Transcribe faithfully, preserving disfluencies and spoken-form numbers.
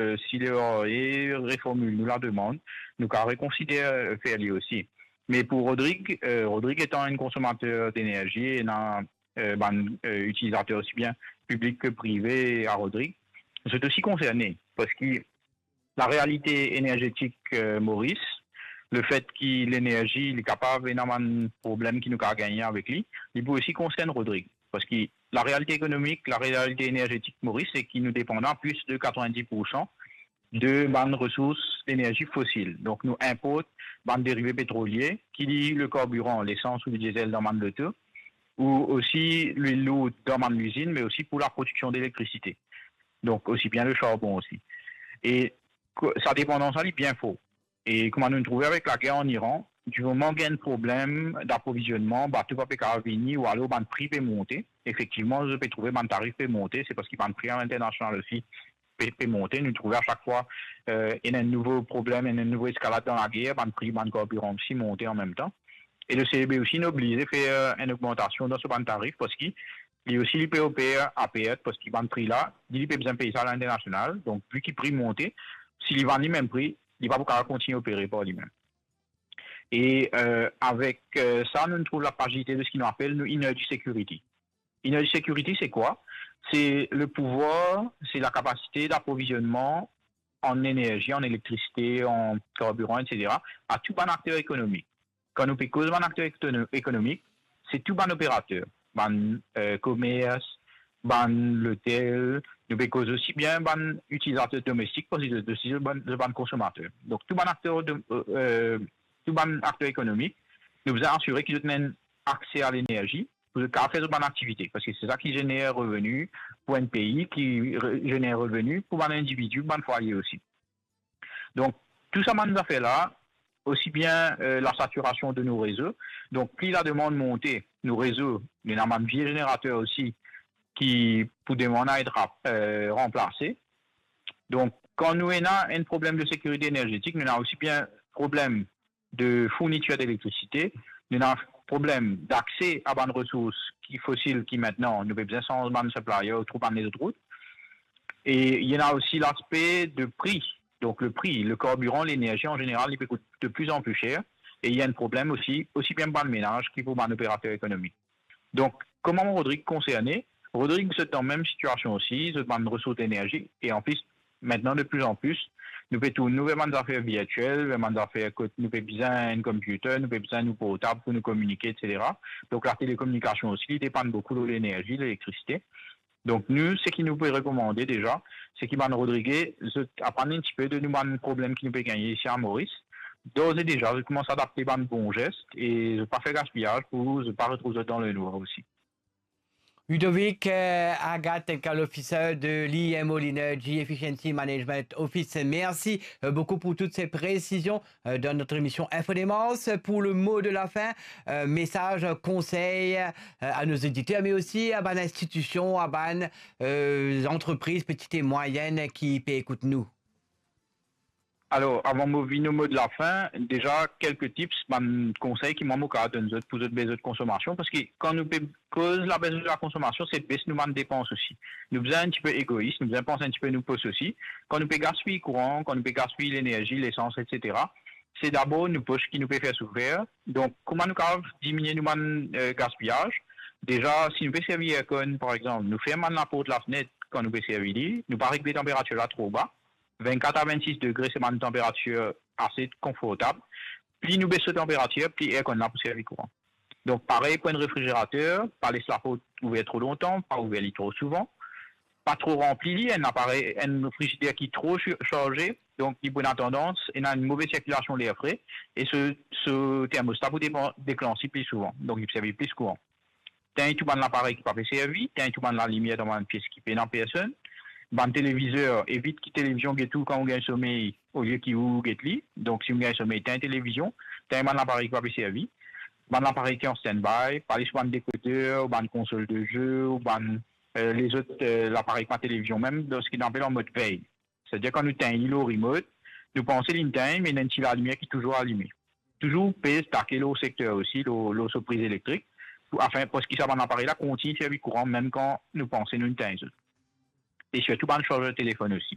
eh, si le REA reformil nou lademann, nou kav rekonsider, eh, fer li osi. Me pou Rodrig, eh, Rodrig etan enn konsomater denerzi, ena, eh, bann, eh, itilizater osi bien piblik ke prive a Rodrig, zot osi konserne, parski larealite enerzetik, eh, Moris, lefet ki lenerzi, li kapav ena bann problem ki nou kav gagne avek li, li pou osi konsern Rodrig. Parski larealite ekonomik, larealite enerzetik Moris, se ki nou depandan plis de katrovin-dis poursan de bann resours lenerzi fosil. Donk, nou inport bann derive petrolie, ki li le karbiran, lesans ou le diesel dan bann loto, ou osi lwil lour dan bann lizinn, me osi pou laprodiksion delektrasite. Donk, osi bien le charbon osi. E ko-, sa depandans la, li bien for. E kouma nou trouve avek lager an Iran, di moman gagn problem daprovizionman, bato pa pe kav vini, ou alor bann pri pe monte. Efektivman, zot pe trouve bann tarif pe monte, se parski bann pri alinternasional osi pe, pe monte. Nou trouve a sak fwa, eh, ena enn nouvo problem, ena enn nouvo eskalad dan lager, bann pri bann karbiran osi monte anmemtan. E le CEB osi, inn oblize fer, eh, enn ogmantasion dan so bann tarif, parski li osi, li pe oper a pert, parski bann pri la, li, li pe bizin pey sa alinternasional. Donk, vi ki pri monte, si li vann li mem pri, li pa pou kapav kontign opere par limem. E, eh, avek, eh, sa, nou trouv lapazite de seki nou apel nou energy security. Energy security, se kwa? Se le pouvwar, se lakapasite daprovizionman an enerzi, an elektrisite, an karbiran, et cetera, a tou bann akter ekonomik. Kan nou pe koz bann akter ekono-, ekonomik, se tou bann operater, bann, eh, komers, bann lotel, nou pe koz osi bien bann itilizater domestik, parski zot osi bann, bann konsomater. Donk, tou bann akter dom-, eh, tou bann akter ekonomik, nou bizin asire ki zot ena enn akse a lenerzi, pou zot kapav fer zot bann aktivite, parski se sa ki zener reveni pou enn pei, ki re-, zener reveni pou bann individi, bann fwaye osi. Donk, tou sa bann zafer la, osi bien, eh, lasatirasyon de nou rezo. Donk, pli lademann monte, nou rezo, li ena bann vie zenerater osi ki pou demann a et rap-, eh, ranplase. Donk, kan nou ena enn problem de sekirite enerzetik, nou ena osi bien problem de fournitir delektrasite, nou ena problem dakse a bann resours ki fosil ki mintnan nou pe bizin sanz bann supplier ou trouv bann lezot rout. E li ena osi laspe de pri. Donk, le pri, le karbiran, lenerzi an zeneral, li pe kout de pli an pli ser. E li ena enn problem osi, osi bien pou bann menaz ki pou bann operater ekonomik. Donk, kouma Rodrig konserne, Rodrig zot dan mem sitiasion osi, zot bann resours lenerzi, e anplis, mintnan, de pli an pli, nou pe tourn nou ver bann zafer virtiel, ver bann zafer kot nou pe bizin enn computer, nou pe bizin nou portab pou nou kominike, et cetera. Donk, latelekominikasion osi, li depann boukou lor lenerzi, lelektrisite. Donk, nou, seki nou pe rekomande deza, se ki bann Rodrige, zot aprann enn tipe de nou bann problem ki nou pe gagne isi a Moris. Dores et déjà, zot koumans adapte bann bon zes e zot pa fer gaspiyaz pou zot pa retrouv zot dan lenwar osi. Ludovic, euh, Agathe, technical officer de l'I M O, l'Energy Efficiency Management Office. Merci, euh, beaucoup pour toutes ces précisions, euh, dans notre émission Info Démence. Pour le mot de la fin, euh, message, conseil, euh, à nos auditeurs, mais aussi à bann institution, à bann, euh, entreprises petites et moyennes qui pe ekout nou. Alor, avan mo vinn o mo de la fin, deza kelke tips, bann konsey ki mwa mo kav donn zot pou zot bes zot konsomasion, parski kan nou pe koz labes de la konsomasion, se bes nou bann depans osi. Nou bizin enn tipe egois, nou bizin pans enn tipe nou pos osi. Kan nou pe gaspiy kouran, kan nou pe gaspiy lenerzi, lesans, et cetera, se dabor nou pos ki nou pe fer soufer. Donk, kouma nou kav diminie nou bann, eh, gaspiyaz? Deza, si nou pe servi aircon, par exanp, nou ferm bann laport, lafnet kan nou pe servi li, nou pa regle tanperatir la tro ba. Vennkat a vennsis degre, se bann tanperatir ase konfortab. Pli nou bes so tanperatir, pli aircon la pou servi kouran. Donk, parey pou enn refrizerater, pa les laport ouver tro lontan, pa ouver li tro souvan, pa tro ranpli li. Enn aparey, enn frizider ki tro si-, sarze, donk li pou ena tandans ena enn move sirkilasion ler fre, e so, so termosta pou depan-, deklanse pli souvan, donk li pou servi plis kouran. Tegn tou bann laparey ki pa pe servi, tegn tou bann lalimier dan bann pies ki pena personn. Bann televizer, evit ki televizion get ou kan ou gagn somey, olie ki ou get li. Donk, si ou gagn somey, tegn televizion, tegn bann laparey ki pa pe servi. Bann laparey ki an standby, pa les bann dekoder, ou bann konsol de ze, ou bann, eh, lezot, eh, laparey pa televizion mem, dan seki nou apel an mod vey. Setadir kan nou tegn li lor remote, nou panse li tegn, me ena enn ti lalimier ki touzour alime. Touzour pez take lor sekter osi, lor, lor so priz elektrik, pou, afin, pou ki sa bann aparey la kontign servi kouran, mem kan nou panse nou tegn zot. E sirtou bann sarzer telefonn osi.